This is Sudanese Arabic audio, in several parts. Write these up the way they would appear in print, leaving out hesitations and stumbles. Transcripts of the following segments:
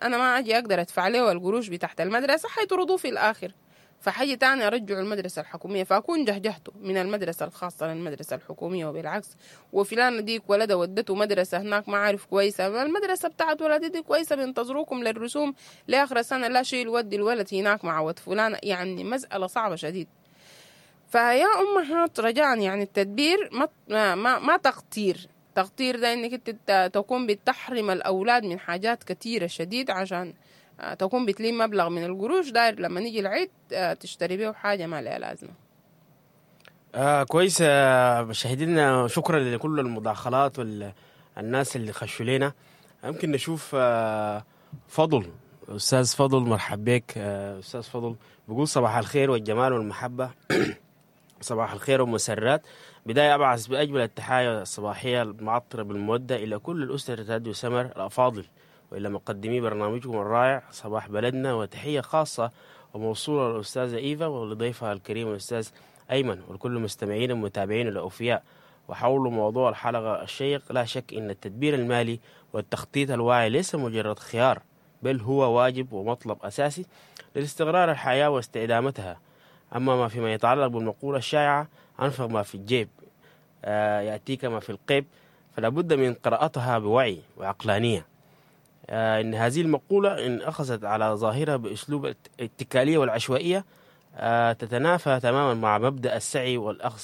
انا ما اجي اقدر ادفع له القروش بتاعت المدرسة، حيطردوه في الاخر. فحاجة تاني ارجعه المدرسة الحكومية، فاكون جهجهته من المدرسة الخاصة للمدرسة الحكومية وبالعكس. وفلان ديك ولدها ودته مدرسة هناك ما عارف كويسة، المدرسة بتاعت ولدي دي كويسة، بينتظروكم للرسوم لآخر السنة، لا شيل ودي الولد هناك مع ود فلان. يعني مسألة صعبة شديد. فيا أمهات رجاء، يعني التدبير ما تقتير. تقتير ده انك انت تكون بتحرم الاولاد من حاجات كثيرة شديد عشان تكون بتلم مبلغ من القروش داير لما نيجي العيد تشتري بيه حاجة ما لها لازمه. كويس مشاهدينا، شكرا لكل المداخلات والناس اللي خشوا لنا. يمكن نشوف فضل، استاذ فضل، مرحب بك. استاذ فضل بيقول صباح الخير والجمال والمحبة، صباح الخير والمسرات. بداية أبعث بأجمل التحايا الصباحية المعطرة بالمودة إلى كل الأسرة راديو سمر الأفاضل، وإلى مقدمي برنامجكم الرائع صباح بلدنا، وتحية خاصة وموصولة للأستاذة إيفا ولضيفها الكريم الأستاذ أيمن ولكل المستمعين والمتابعين الأوفياء. وحول موضوع الحلقة الشيق، لا شك أن التدبير المالي والتخطيط الواعي ليس مجرد خيار، بل هو واجب ومطلب أساسي لاستقرار الحياة واستدامتها. أما ما فيما يتعلق بالمقولة الشائعة أنفق ما في الجيب يأتيك ما في القيب، فلا بد من قراءتها بوعي وعقلانية. إن هذه المقولة إن أخذت على ظاهرها بأسلوب الاتكالية والعشوائية تتنافى تماما مع مبدأ السعي والأخذ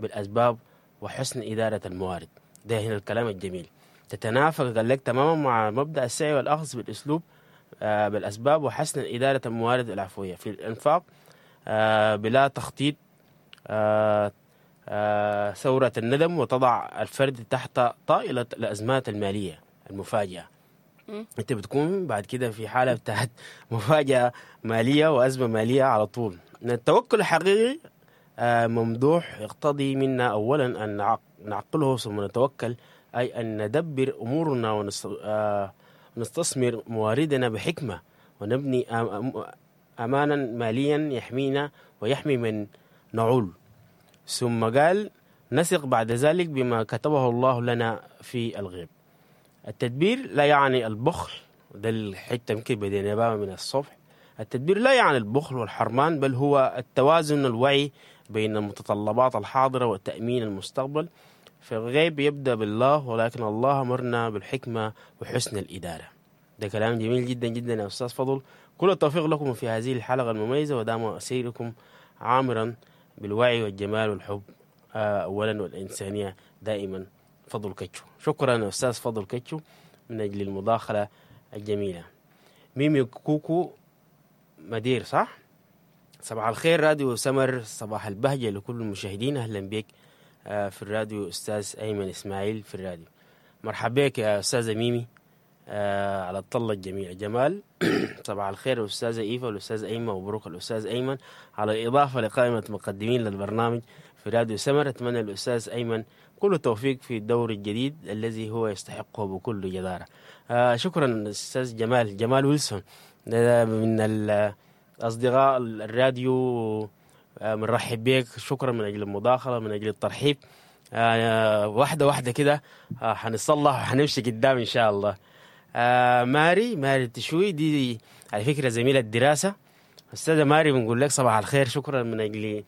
بالأسباب وحسن إدارة الموارد. ده هنا الكلام الجميل، تتنافى قال لك تماما مع مبدأ السعي والأخذ بالأسلوب بالأسباب وحسن إدارة الموارد العفوية في الإنفاق بلا تخطيط ثورة الندم، وتضع الفرد تحت طائلة الأزمات المالية المفاجئة. انت بتكون بعد كده في حالة بتاعت مفاجأة مالية وأزمة مالية على طول. التوكل الحقيقي ممدوح يقتضي منا أولا أن نعقله ثم نتوكل، أي أن ندبر أمورنا ونستثمر مواردنا بحكمة، ونبني أمانا ماليا يحمينا ويحمي من نعول. ثم قال نثق بعد ذلك بما كتبه الله لنا في الغيب. التدبير لا يعني البخل، ده الحتة يمكن بدينا بها من الصبح. التدبير لا يعني البخل والحرمان، بل هو التوازن الوعي بين المتطلبات الحاضرة وتأمين المستقبل. في الغيب يبدأ بالله، ولكن الله أمرنا بالحكمة وحسن الإدارة. ده كلام جميل جدا جدا يا أستاذ فضل. كل التوفيق لكم في هذه الحلقة المميزة، ودام سيركم عامرا بالوعي والجمال والحب أولا والإنسانية دائما. فضل كتشو. شكرا أستاذ فضل كتشو من أجل المداخلة الجميلة. ميمي كوكو مدير، صح؟ صباح الخير راديو سمر، صباح البهجة لكل المشاهدين. أهلا بك في الراديو أستاذ أيمن إسماعيل في الراديو. مرحبا بك يا أستاذة ميمي على الطلة الجميلة جمال. صباح الخير الأستاذة إيفا والأستاذ أيمن، ومبروك الأستاذ أيمن على الإضافة لقائمة مقدمين للبرنامج في راديو سمر. أتمنى الأستاذ أيمن كل التوفيق في الدور الجديد الذي هو يستحقه بكل جدارة. شكرا أستاذ جمال، جمال ويلسون من الأصدقاء الراديو، بنرحب بك. شكرا من أجل المداخلة، من أجل الترحيب. واحدة واحدة كده حنصلح وحنمشي قدام إن شاء الله. ماري تشوي دي على فكرة زميلة الدراسة. أستاذة ماري بنقول لك صباح الخير، شكرا من أجل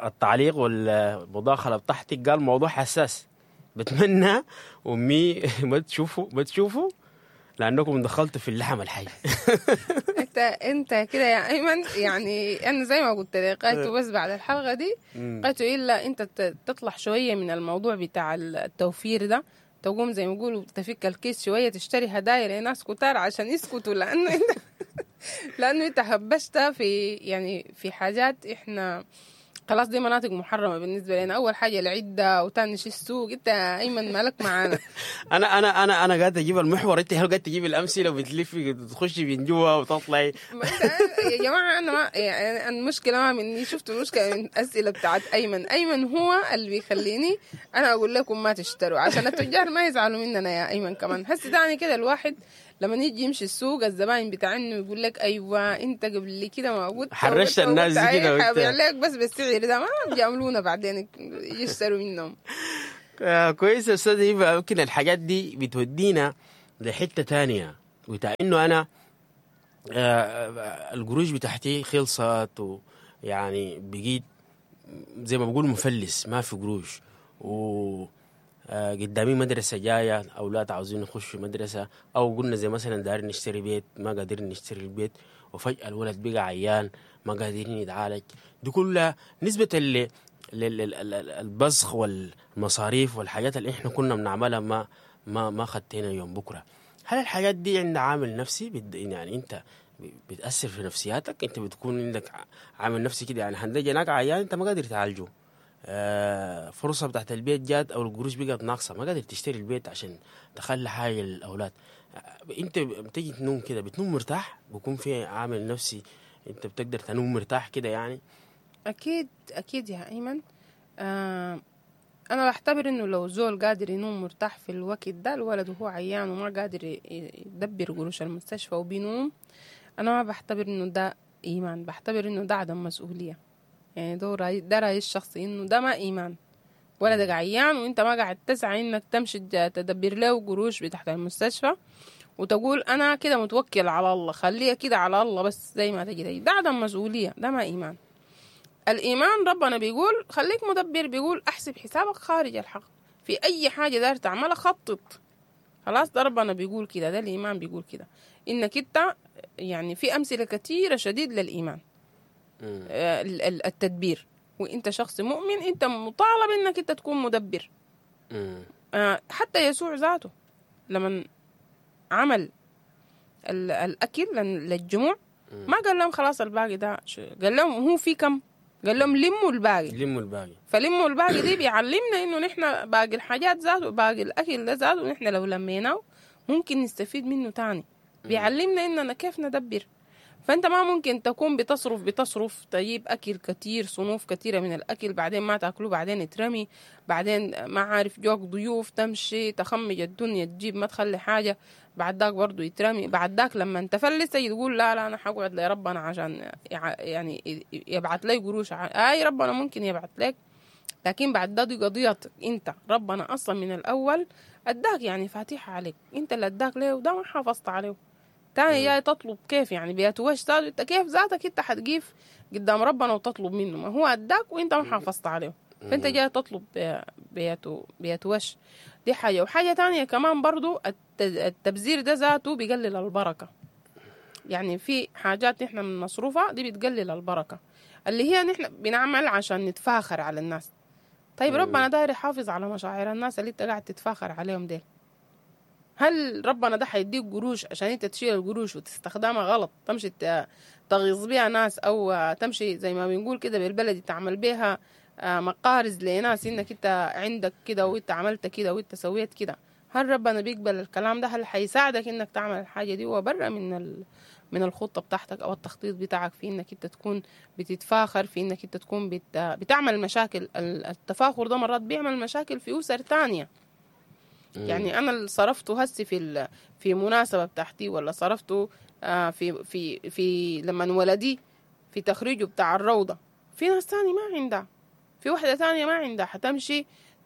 التعليق والمداخلة بتاعتك. قال موضوع حساس، بتمنى أمي ما تشوفوا لأنكم دخلتوا في اللحم الحي. انت كده يا ايمن، يعني انا زي ما قلت لك قالت بس بعد الحلقة دي قالت الا انت تطلع شوية من الموضوع بتاع التوفير ده، تقوم زي ما يقولوا تفك الكيس شوية، تشتري هدايا لناس كتار عشان يسكتوا، لانه انت هبشت في يعني في حاجات احنا خلاص دي مناطق محرمة بالنسبة لنا. اول حاجة العدة، وثاني شيء السوق. انت ايمن مالك معانا؟ انا انا انا انا قاعد اجيب المحور، انت قاعد تجيب الامثلة وبتلفي تخشي من جوا وتطلعي. يا جماعة انا ما يعني المشكلة ما مني، شفتوا المشكلة من الاسئلة بتاعت ايمن. ايمن هو اللي بيخليني انا اقول لكم ما تشتروا عشان التجار ما يزعلوا مننا يا ايمن. كمان هسه تاني كده الواحد لما يجي يمشي السوق الزباين بتاعنه يقول لك ايوه انت قبل كده ما قلت، حرشت الناس دي كده حبيع لك بس بالسعر ده، ما بيعملونا بعدين يشتروا منهم. كويس يا استاذ ايفا، يمكن الحاجات دي بتودينا لحته ثانية. بتاع انه انا القروش بتاعتي خلصت، ويعني بقيت زي ما بقول مفلس، ما في قروش، و قدامي مدرسة جاية، أولاد عاوزين يخشوا مدرسة، أو قلنا زي مثلا دايرين نشتري بيت ما قادرين نشتري البيت، وفجأة الولد بقى عيان ما قادرين يتعالج. دي كلها نسبة للبزخ والمصاريف والحاجات اللي احنا كنا بنعملها ما خدتنا يوم بكرة. هل الحاجات دي عندها عامل نفسي؟ يعني انت بتأثر في نفسياتك، انت بتكون عندك عامل نفسي كده، يعني هندجي هناك عيان انت ما قادر تعالجه، فرصة بتاعت البيت جات او القروش بقت ناقصة ما قادر تشتري البيت عشان تخلي حاجة للأولاد. انت بتيجي تنوم كده بتنوم مرتاح؟ بيكون في عامل نفسي انت بتقدر تنوم مرتاح كده يعني؟ اكيد اكيد يا ايمن. انا بعتبر انه لو زول قادر ينوم مرتاح في الوقت ده، الولد وهو عيان وما قادر يدبر قروش المستشفى وبينوم، انا ما بعتبر انه ده ايمان، بعتبر انه ده عدم مسؤولية. يعني ده رأيي الشخصي، انه ده ما ايمان. ولدك عيان وانت ما قاعد تسعى انك تمشي تدبر له قروش بتاعت المستشفى وتقول انا كده متوكل على الله، خليها كده على الله بس زي ما تجي، ده عدم مسؤولية، ده ما ايمان. الإيمان ربنا بيقول خليك مدبر، بيقول أحسب حسابك خارج الحق، في أي حاجة داير تعملها خطط. خلاص، ده ربنا بيقول كده، ده الإيمان بيقول كده. إنك أنت يعني في أمثلة كثيرة شديد للإيمان، التدبير. وإنت شخص مؤمن، أنت مطالب إنك أنت تكون مدبر. حتى يسوع ذاته لما عمل الأكل للجموع ما قال لهم خلاص الباقي ده، قال لهم هو في كم؟ قال لهم لموا الباقي، لموا الباقي. فلموا الباقي دي بيعلمنا انه نحن باقي الحاجات ذاته، باقي الاكل ده ذاته، نحن لو لميناه ممكن نستفيد منه تاني. بيعلمنا اننا كيف ندبر. فانت ما ممكن تكون بتصرف تجيب اكل كتير، صنوف كتيرة من الاكل، بعدين ما تاكله، بعدين يترمي، بعدين ما عارف جوك ضيوف تمشي تخمج الدنيا تجيب ما تخلي حاجة، بعد ذاك برضو يترمي، بعد ذاك لما تفلس تجي تقول لا لا انا حقعد لربنا عشان يعني يبعت لي قروش. اي ربنا ممكن يبعت لك، لكن بعد ده دي قضيتك انت. ربنا اصلا من الاول اداك يعني فاتحة عليك، انت اللي اداك ليه وده ما حافظت عليه. تاني جاي تطلب كيف يعني بيتوش ذاته، انت كيف ذاتك انت حتقيف قدام ربنا وتطلب منه؟ ما هو اداك وانت ما حافظت عليه، فانت جاي تطلب بيتوش. دي حاجة. وحاجة تانية كمان برضو التبذير ده ذاته بيقلل البركة. يعني في حاجات نحن من مصروفها دي بتقلل البركة، اللي هي نحن بنعمل عشان نتفاخر على الناس. طيب ربنا داير يحافظ على مشاعر الناس اللي انت قاعد تتفاخر عليهم ديل. هل ربنا ده حيديك قروش عشان انت تشيل القروش وتستخدمها غلط، تمشي تغيظ بيها ناس، او تمشي زي ما بنقول كده بالبلدي تعمل بيها مقارز لناس انك انت عندك كده وانت عملت كده وانت سويت كده؟ هل ربنا بيقبل الكلام ده؟ هل حيساعدك انك تعمل الحاجة دي وبره من الخطة بتاعتك او التخطيط بتاعك في انك انت تكون بتتفاخر، في انك انت تكون بتعمل مشاكل؟ التفاخر ده مرات بيعمل مشاكل في اسر تانية. يعني انا اللي صرفته هسي في مناسبة بتاعتي، ولا صرفته في في في لما ولدي في تخريجه بتاع الروضة، في ناس تاني ما عندها، في واحدة تانية ما عندها، حتمشي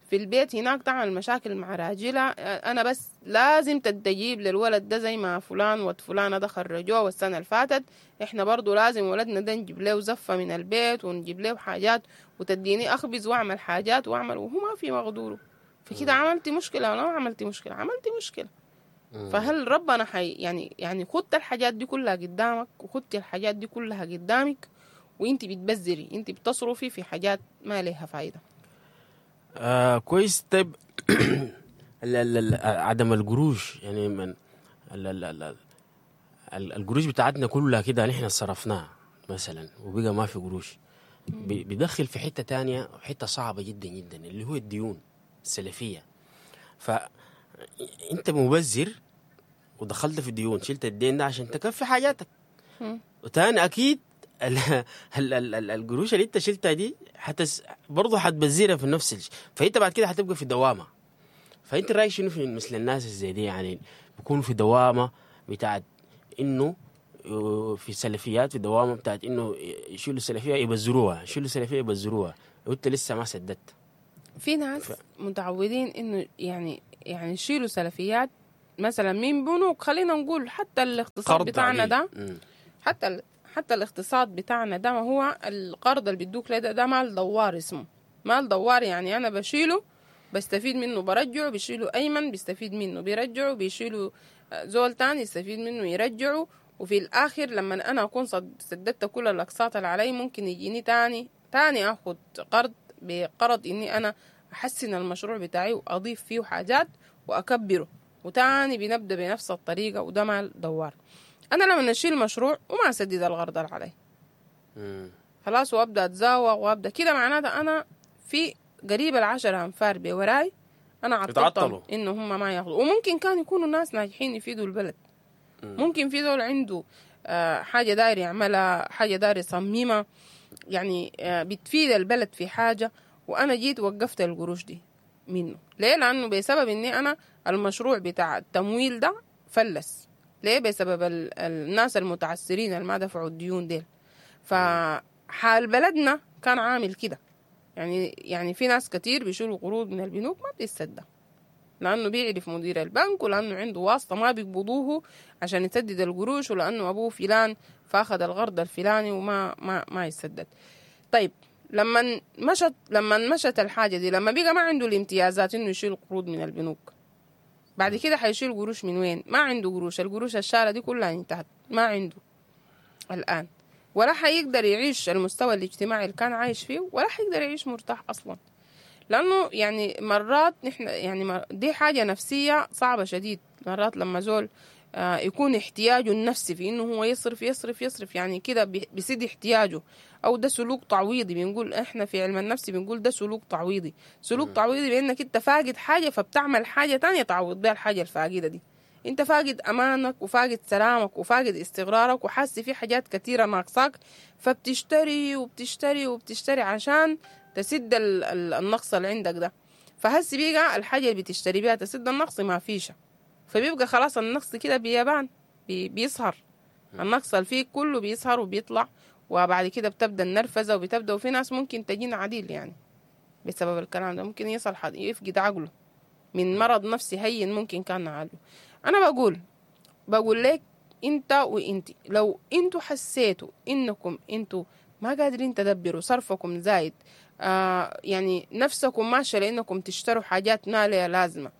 في البيت هناك تعمل مشاكل مع راجلها. أنا بس لازم تجيب للولد ده زي ما فلان وفلانة ده خرجوه والسنة اللي فاتت، إحنا برضو لازم ولدنا ده نجيب له زفة من البيت ونجيب له حاجات وتديني أخبز وأعمل حاجات وأعمل، وهو ما في مقدوره. فكده عملتي مشكلة ولا ما عملتي مشكلة؟ عملتي مشكلة. فهل ربنا حي يعني خدت الحاجات دي كلها قدامك، وخدتي الحاجات دي كلها قدامك، وانت بتبذري، انت بتصرفي في حاجات ما لها فايدة. كويس. طيب عدم القروش، يعني من القروش بتاعتنا كلها كده نحن صرفناها مثلا وبقى ما في قروش، بيدخل في حتة تانية، حتة صعبة جدا جدا، اللي هو الديون السلفية. فأنت مبذر ودخلت في الديون، شلت الدين ده عشان تكفي حاجاتك، وتاني أكيد القروش اللي انت شلتها دي برضه حتبذرها في نفس الشيء، فانت بعد كده حتبقى في دوامه. فانت رايك شنو في مثل الناس زي دي؟ يعني بيكون في دوامه بتاعت انه في سلفيات، في دوامه بتاعت انه يشيلوا السلفية يبذروها، يشيلوا السلفية يبذروها، وانت لسه ما سددت. في ناس متعودين انه يعني يشيلوا سلفيات مثلا من بنوك، خلينا نقول حتى الاقتصاد بتاعنا ده، حتى الاقتصاد بتاعنا ده، ما هو القرض اللي بيدوك ده، ده مال دوار، اسمه مال دوار. يعني انا بشيله بستفيد منه برجعه، بيشيله ايمن بيستفيد منه بيرجعه، بيشيله زول تاني يستفيد منه يرجعه، وفي الاخر لما انا اكون سددت كل الاقساط اللي علي ممكن يجيني تاني اخد قرض بقرض اني انا احسن المشروع بتاعي واضيف فيه حاجات واكبره، وتاني بنبدا بنفس الطريقة، وده مال دوار. انا لما اشيل مشروع وما اسدد القرض اللي علي خلاص، وابدا اتزاوغ وابدا كده، معناته انا في قريب 10 انفار بوراي انا عطلتهم انه هم ما ياخذوا. وممكن كان يكونوا ناس ناجحين يفيدوا البلد، ممكن في زول عنده حاجة داير يعملها، حاجة داير يصممها، يعني بتفيد البلد في حاجة، وانا جيت وقفت القروش دي منه. ليه؟ لانه بسبب اني انا المشروع بتاع التمويل ده فلس. ليه؟ بسبب الناس المتعسرين اللي ما دفعوا الديون ديل. فحال بلدنا كان عامل كده، يعني في ناس كتير بيشيلوا قروض من البنوك ما بتسدد، لأنه بيعرف مدير البنك، ولأنه عنده واسطة ما بيقبضوه عشان يسدد القروش، ولأنه أبوه فلان فأخذ القرض الفلاني وما ما ما يسدد. طيب لما مشت الحاجة دي، لما بقى ما عنده الامتيازات إنه يشيل قروض من البنوك، بعد كده حيشيل قروش من وين؟ ما عنده قروش، القروش الشالة دي كلها انتهت، ما عنده الآن، ولا حيقدر يعيش المستوى الاجتماعي اللي كان عايش فيه، ولا حيقدر يعيش مرتاح أصلا. لأنه يعني مرات نحن يعني دي حاجة نفسية صعبة شديد. مرات لما زول يكون احتياجه النفسي في إنه هو يصرف يصرف يصرف، يعني كده بيسد احتياجه، أو ده سلوك تعويضي. بنقول إحنا في علم النفس بنقول ده سلوك تعويضي. سلوك تعويضي بأنك أنت فاقد حاجة فبتعمل حاجة تانية تعوض بها الحاجة الفاقدة دي. انت فاقد امانك وفاقد سلامك وفاقد استقرارك وحاسس في حاجات كثيرة ناقصاك، فبتشتري وبتشتري وبتشتري عشان تسد النقص اللي عندك ده. فهسي بيقى الحاجة اللي بتشتري بيها تسد النقص ما فيش، فبيبقى خلاص النقص كده بيبان، بيظهر النقص اللي فيه كله بيظهر وبيطلع، وبعد كده بتبدا النرفزه وبتبدا، وفي ناس ممكن تجينا عديل يعني بسبب الكلام ده، ممكن يصل يفقد عقله من مرض نفسي هين ممكن كان نعالجه. أنا بقول لك أنت وإنتي، لو أنتوا حسيتوا إنكم أنتوا ما قادرين تدبروا، صرفكم زايد، يعني نفسكم ماشية لأنكم تشتروا حاجات ما لها لازمة،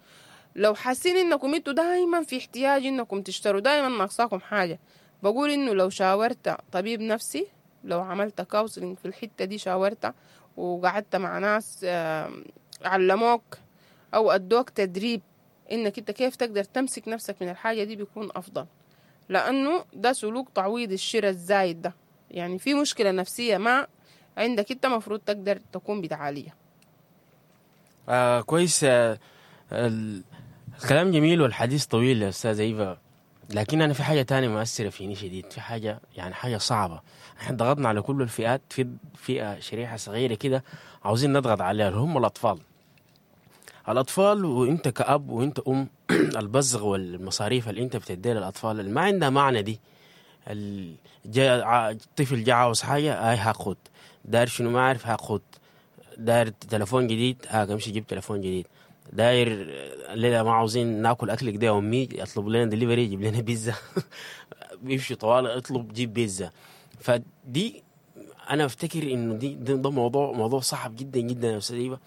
لو حاسين إنكم أنتوا دايما في احتياج إنكم تشتروا، دايما ناقصاكم حاجة، بقول إنه لو شاورت طبيب نفسي، لو عملت counseling في الحتة دي، شاورت وقعدت مع ناس علموك أو أدوك تدريب إنك أنت كيف تقدر تمسك نفسك من الحاجة دي، بيكون أفضل. لأنه ده سلوك تعويض الشراء الزايد ده، يعني في مشكلة نفسية ما عندك أنت مفروض تقدر تكون بتعالجها. كويس. الكلام جميل والحديث طويل يا أستاذة إيفا، لكن أنا في حاجة تانية مؤثرة فيني شديد، في حاجة يعني حاجة صعبة. احنا ضغطنا على كل الفئات، في فئة شريحة صغيرة كده عاوزين نضغط عليها، اللي هم الأطفال. الأطفال، وإنت كأب وإنت أم، البزغ والمصاريف اللي إنت بتديها للأطفال اللي ما عندها معنى دي. الطفل جاء عاوز حاجة، هاي هاخد، داير شنو ما عارف هاخد، داير تلفون جديد، هاك امشي جيب تلفون جديد، داير الليلة ما عاوزين ناكل أكلك ده يا أمي، اطلب لنا دليفري، جيب لنا بيتزا. بيمشي طوال اطلب جيب بيتزا. فدي أنا أفتكر إنه دي ده موضوع صعب جدا جدا يا أستاذ إيفا،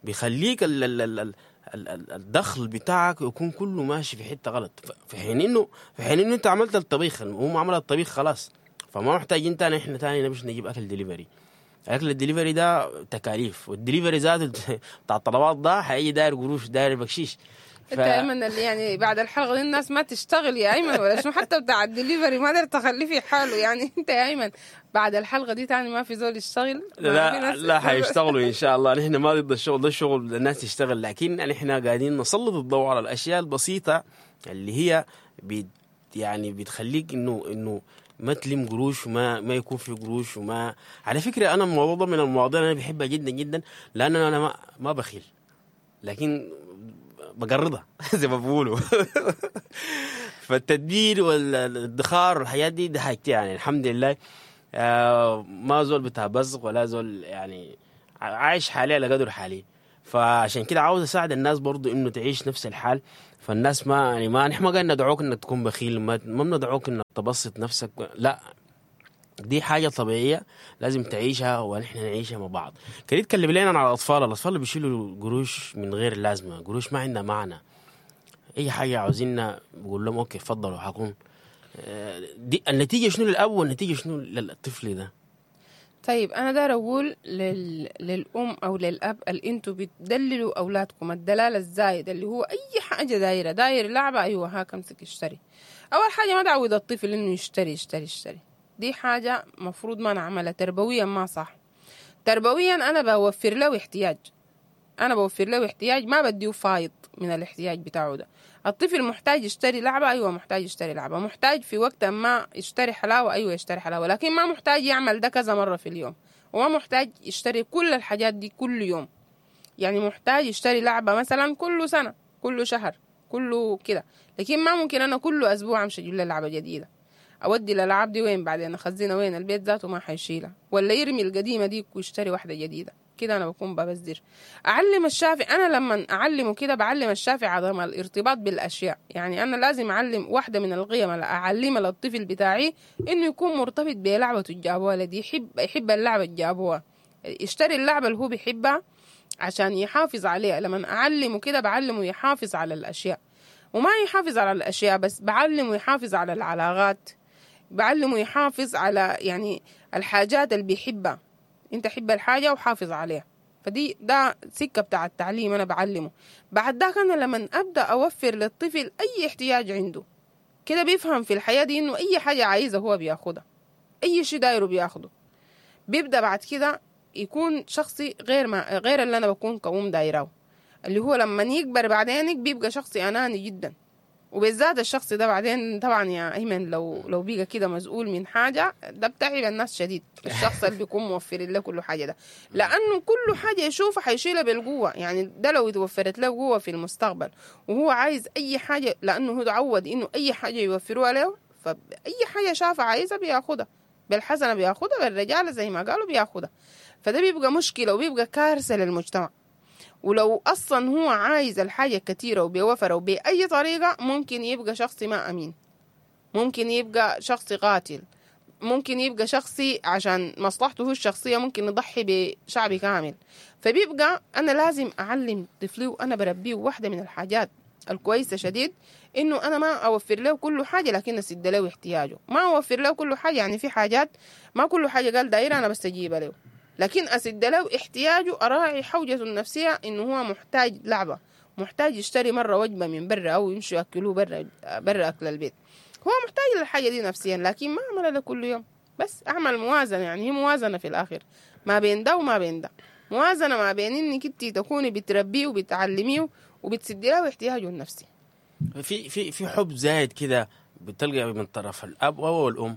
بيخليك ال ال ال ال الدخل بتاعك يكون كله ماشي في حتة غلط، في حين انه انت عملت الطبيخ، هم عمل الطبيخ خلاص، فما محتاجين تاني احنا تاني نمشي نجيب اكل دليفري. اكل الدليفري ده تكاليف، والدليفري ذاته بتاع الطلبات ده حيجي داير قروش، داير بكشيش. انت ايمن اللي يعني بعد الحلقة دي الناس ما تشتغل يا ايمن ولا شنو؟ حتى بتاع الدليفري ما قدرت تخليه في حاله يعني. انت يا ايمن بعد الحلقة دي تاني ما في زول يشتغل؟ لا لا حيشتغلوا ان شاء الله، نحن ما ضد الشغل، ده الشغل الناس تشتغل، لكن نحن قاعدين نسلط الضوء على الاشياء البسيطة اللي هي يعني بتخليك انه ما تلم قروش وما ما يكون في قروش. وما على فكرة انا الموضوع ده من المواضيع اللي انا بحبها جدا جدا، لان انا ما بخيل، لكن بقرضها زي ما بقولوا. فالتدبير والادخار والحياة دي حاجتي يعني الحمد لله. ما زول بتاع بزغ ولا زول يعني عايش حالي على قدر حالي. فعشان كده عاوز اساعد الناس برضو انه تعيش نفس الحال. فالناس ما يعني ما نحن ما قاعدين ندعوك انك تكون بخيل، ما بندعوك انك تبسط نفسك، لا، دي حاجة طبيعية لازم تعيشها ونحن نعيشها مع بعض. كده يتكلم لنا عن الاطفال اللي بيشيلوا قروش من غير لازمه، قروش ما عندها معنى، اي حاجة عاوزيننا بقول لهم okay تفضلوا حكون. دي النتيجة شنو للاب والنتيجة شنو للطفل ده؟ طيب انا داير اقول للام او للاب اللي انتوا بتدللوا اولادكم الدلال الزايد، اللي هو اي حاجة دايرة، داير لعبه، ايوه هاك امسك اشتري. اول حاجة ما تعود الطفل انه يشتري يشتري يشتري، دي حاجة مفروض ما نعملها تربويا، ما صح تربويا. انا بوفر له احتياج، انا بوفر له احتياج، ما بديه فايض من الاحتياج بتاعه ده. الطفل محتاج يشتري لعبة، أيوة محتاج يشتري لعبة، محتاج في وقت ما يشتري حلاوة، أيوة يشتري حلاوة، لكن ما محتاج يعمل ده كذا مرة في اليوم، وما محتاج يشتري كل الحاجات دي كل يوم. يعني محتاج يشتري لعبة مثلا كل سنة، كل شهر، كله كده، لكن ما ممكن أنا كل أسبوع أمشي أجيب له لعبة جديدة. أودي الألعاب دي وين بعدين؟ أخزنها وين؟ البيت ذاته ما حيشيلها، ولا يرمي القديمة دي ويشتري واحدة جديدة. كده أنا بكون ببذر. أعلم الشافع، أنا لما أعلمه كده بعلم الشافع عدم الارتباط بالأشياء. يعني أنا لازم أعلم واحدة من القيم اللي أعلمها للطفل بتاعي إنه يكون مرتبط بلعبته الجابوها لدي، يحب اللعبة الجابوها، يشتري اللعبة اللي هو بيحبها عشان يحافظ عليها. لما أعلمه كده بعلمه يحافظ على الأشياء، وما يحافظ على الأشياء بس، بعلمه يحافظ على العلاقات، بعلمه يحافظ على يعني الحاجات اللي بيحبها. انت حب الحاجة وحافظ عليها. فدي ده سكة بتاع التعليم انا بعلمه. بعد ذاك انا لما ابدا اوفر للطفل اي احتياج عنده كده بيفهم في الحياة دي انه اي حاجة عايزة هو بياخدها، اي شيء دايرة بياخده. بيبدا بعد كده يكون شخصي غير ما غير اللي انا بكون كأم دايراه، اللي هو لما يكبر بعدين بيبقى شخصي اناني جدا. وبالذات الشخص ده بعدين طبعا يا ايمن لو بيجا كده مسؤول من حاجة ده بتعب الناس شديد، الشخص اللي بيكون موفر له كل حاجة ده، لانه كل حاجة يشوفها حيشيلها بالقوة. يعني ده لو اتوفرت له قوة في المستقبل وهو عايز اي حاجة، لانه هو تعود انه اي حاجة يوفروها له، فاي حاجة شافها عايزها بياخدها بالحسنة، بياخدها بالرجاله زي ما قالوا بياخدها. فده بيبقى مشكلة وبيبقى كارثة للمجتمع. ولو أصلا هو عايز الحاجة كتيرة وبيوفره وبأي طريقة، ممكن يبقى شخص ما أمين، ممكن يبقى شخص قاتل، ممكن يبقى شخصي عشان مصلحته هو الشخصية ممكن يضحي بشعب كامل. فبيبقى أنا لازم أعلم طفلي وأنا بربيه واحدة من الحاجات الكويسة شديد إنه أنا ما أوفر له كل حاجة، لكن أسد له احتياجه. ما أوفر له كل حاجة، يعني في حاجات ما كل حاجة قال دايرة أنا بس أجيبها له، لكن أسد له احتياجه، أراعي حوجته النفسية إنه هو محتاج لعبة، محتاج يشتري مرة وجبة من برا أو يمشي يأكلوه برا أكل البيت، هو محتاج للحاجة دي نفسيا، لكن ما أعملها له كل يوم. بس أعمل موازنة، يعني هي موازنة في الآخر ما بين ده وما بين ده، موازنة ما بين إنك أنت تكوني بتربيه وبتعلميه وبتسدي له احتياجه النفسي. في في في حب زايد كده بتلقى من طرف الأب أو الأم،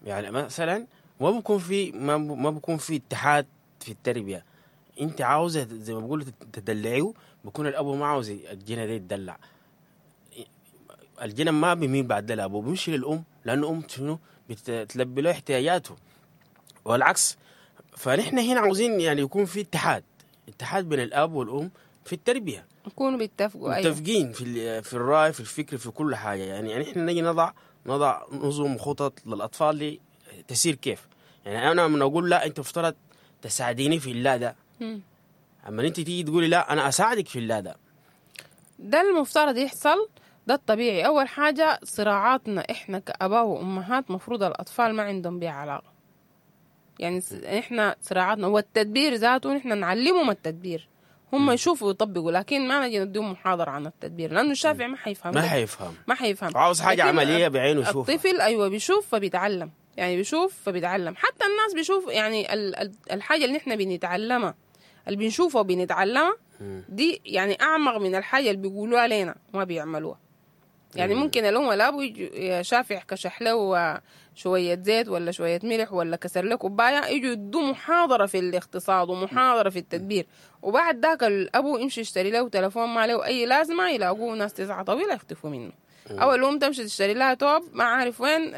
يعني مثلا ما بيكون في ما بيكون في اتحاد في التربية. انت عاوزه زي ما بيقولوا تدلعيه، بيكون الاب ما عاوز الجنة دي يتدلع. الجنة ما بيميل بعد الاب، بيمشي للام، لانه ام شنو بتلبي له احتياجاته، والعكس. فنحن هنا عاوزين يعني يكون في اتحاد بين الاب والام في التربية، يكونوا بيتفقوا، متفقين في الراي، في الفكر، في كل حاجة. يعني احنا نجي نضع نظم وخطط للاطفال دي تسير كيف. يعني انا من اقول لا انت افترض تساعديني في اللا ده، اما انت تيجي تقولي لا انا اساعدك في اللا ده، ده المفترض يحصل، ده الطبيعي. اول حاجة صراعاتنا احنا كاباء وامهات مفروض الاطفال ما عندهم بيها علاقة. يعني احنا صراعاتنا والتدبير ذاته احنا نعلمهم التدبير، هم يشوفوا ويطبقوا، لكن ما نجي نديهم محاضرة عن التدبير، لأنه الشافع ما حيفهم، ما حيفهم، عاوز حاجة عملية بعينه يشوفها. الطفل أيوة بيشوف فبيتعلم، يعني بيشوف فبيتعلم. حتى الناس بيشوف، يعني الحاجة اللي احنا بنتعلمها، اللي بنشوفها وبنتعلمها دي يعني أعمق من الحاجة اللي بيقولوها لنا وما بيعملوها. يعني ممكن الأم والأبو يجوا شافع كشح له شوية زيت ولا شوية ملح ولا كسر له كوباية، يجوا يدوا محاضرة في الاقتصاد ومحاضرة في التدبير، وبعد ذاك الأبو يمشي يشتري له تلفون ما له أي لازمة، يلاقوه ناس 9 طويلة يختفوا منه. او الام تمشي تشتري لها توب ما عارف وين،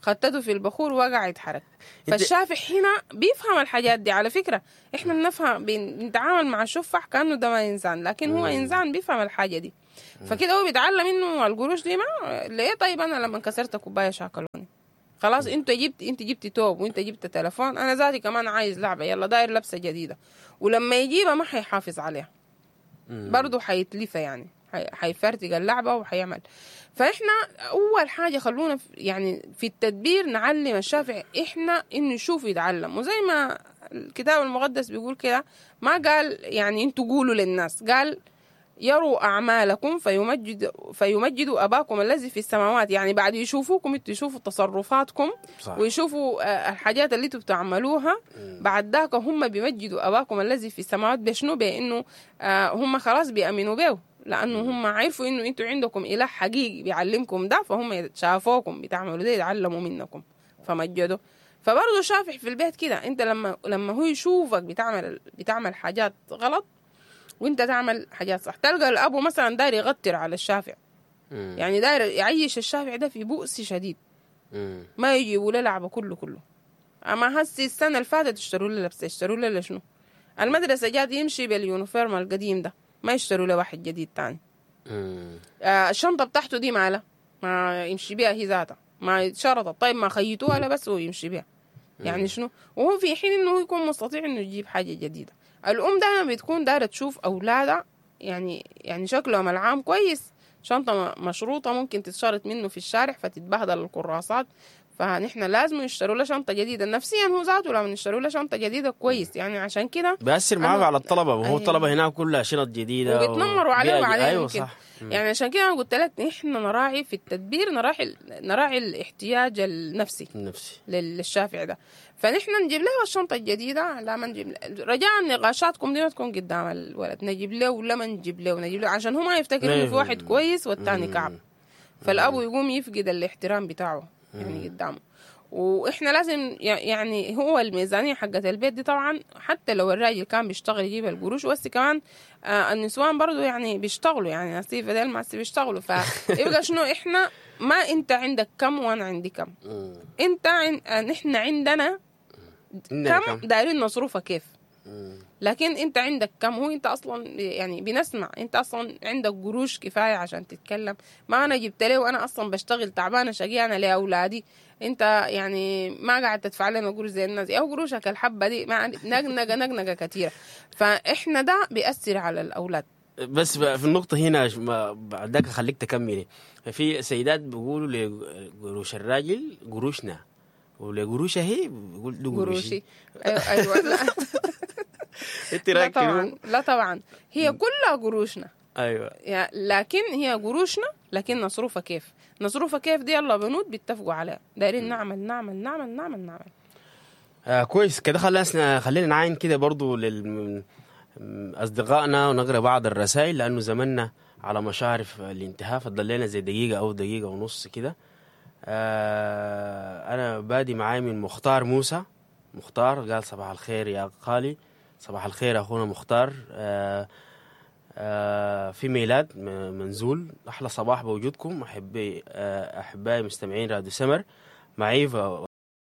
خطته في البخور وقع يتحرك. فالشافع هنا بيفهم الحاجات دي. على فكرة احنا بنفهم، بنتعامل مع الشفع كانه ده ما انسان، لكن هو انسان بيفهم الحاجة دي. فكده هو بيتعلم انه القروش دي ما ليه. طيب انا لما كسرت كوباية شاكلوني، خلاص انت جبت، انت جبت توب وانت جبت تلفون، انا ذاتي كمان عايز لعبه، يلا داير لبسه جديدة. ولما يجيبها ما حيحافظ عليها، برضه حيتلفها، يعني حيفرتق اللعبة وحيعمل. فاحنا اول حاجة خلونا يعني في التدبير نعلم الشافع احنا انه يشوف يتعلم. وزي ما الكتاب المقدس بيقول كده، ما قال يعني انتوا قولوا للناس، قال يروا أعمالكم فيمجدوا أباكم الذي في السماوات. يعني بعد يشوفوكم انتوا، يشوفوا تصرفاتكم ويشوفوا الحاجات اللي انتوا بتعملوها، بعد ذاك هم بيمجدوا أباكم الذي في السماوات. بشنو؟ بأنه هم خلاص بيأمنوا به، لأنه هم عرفوا إنه انتوا عندكم إله حقيقي بيعلمكم ده، فهم شافوكم بتعملوا ده يتعلموا منكم فمجدوا. فبرضه شافع في البيت كده، انت لما هو يشوفك بتعمل حاجات غلط وانت تعمل حاجات صح، تلقى الابو مثلا داير يغتر على الشافع، يعني داير يعيش الشافع ده في بؤس شديد، ما يجيبوا له لعبه كله كله. اما هسي السنة اللي فاتت اشتروا له لبسه، اشتروا له شنو؟ المدرسة جات يمشي بال uniform القديم ده، ما يشتروا له واحد جديد تاني. الشنطة بتاعته دي مالها ما يمشي بيها هي ذاتها، ما شرطت، طيب ما خيطوها لا بس ويمشي بيها، يعني شنو؟ وهو في حين انه يكون مستطيع انه يجيب حاجة جديدة. الام دائما بتكون دايرة تشوف اولادها يعني شكلهم العام كويس، شنطه مشروطة ممكن تتشرط منه في الشارع فتتبهدل الكراسات، فنحن لازم نشتروا له شنطه جديدة. نفسيا هو ذاته لما نشتروا له شنطه جديدة كويس، يعني عشان كده بيأثر معاه على الطلبة، وهو الطلبة هناك كلها شنط جديدة وبيتنمروا عليه وعليه. أيوة صح. يعني عشان كده انا قلت لك نحن نراعي في التدبير، نراعي الاحتياج النفسي للشافع ده. فنحن نجيب له الشنطة الجديدة، لا ما نجيب، رجاء نقاشاتكم دي ما تكون قدام الولد، نجيب له ولا ما نجيب له، نجيب له عشان هو ما يفتكر انه في واحد كويس والثاني كعب، فالابو يقوم يفقد الاحترام بتاعه يعني قدامه. واحنا لازم يعني هو الميزانية حقت البيت دي طبعا حتى لو الراجل كان بيشتغل يجيب القروش، بس كمان النسوان برضو يعني بيشتغلوا، يعني ناس بدل ما بيشتغلوا، فيبقى شنو احنا ما انت عندك كم وانا عندي كم، انت نحن عندنا كم دايرين نصرفها كيف، لكن انت عندك كم، هو انت اصلا يعني بنسمع انت اصلا عندك قروش كفاية عشان تتكلم، ما انا جبت له وانا اصلا بشتغل تعبانة شقيانه لاولادي، انت يعني ما قاعد تدفع لنا قروش زي الناس، او قروشك الحبة دي ما نقنقه نقنقه كثيرة. فاحنا ده بيأثر على الاولاد. بس في النقطة هنا بعدك خليك تكملي، في سيدات بيقولوا لقروش الراجل قروشنا، ولقروشها هي بيقول له قروشي. ايوه لا. انت رايك؟ لا طبعا، لا طبعا هي كلها قروشنا. ايوه لكن هي قروشنا، لكن نصرفها كيف؟ نصرفها كيف دي يلا بنود بيتفقوا عليها، دايرين نعمل نعمل نعمل نعمل نعمل. كويس كده. خلينا نعاين كده برضو لأصدقائنا ونقرأ بعض الرسائل، لأنه زمننا على مشارف الانتهاء، فضل لنا زي دقيقة أو دقيقة ونص كده. أنا بادي معاي من مختار موسى. مختار قال صباح الخير يا خالي. صباح الخير أخونا مختار. في ميلاد منزول، أحلى صباح بوجودكم أحبائي مستمعين راديو سمر معي.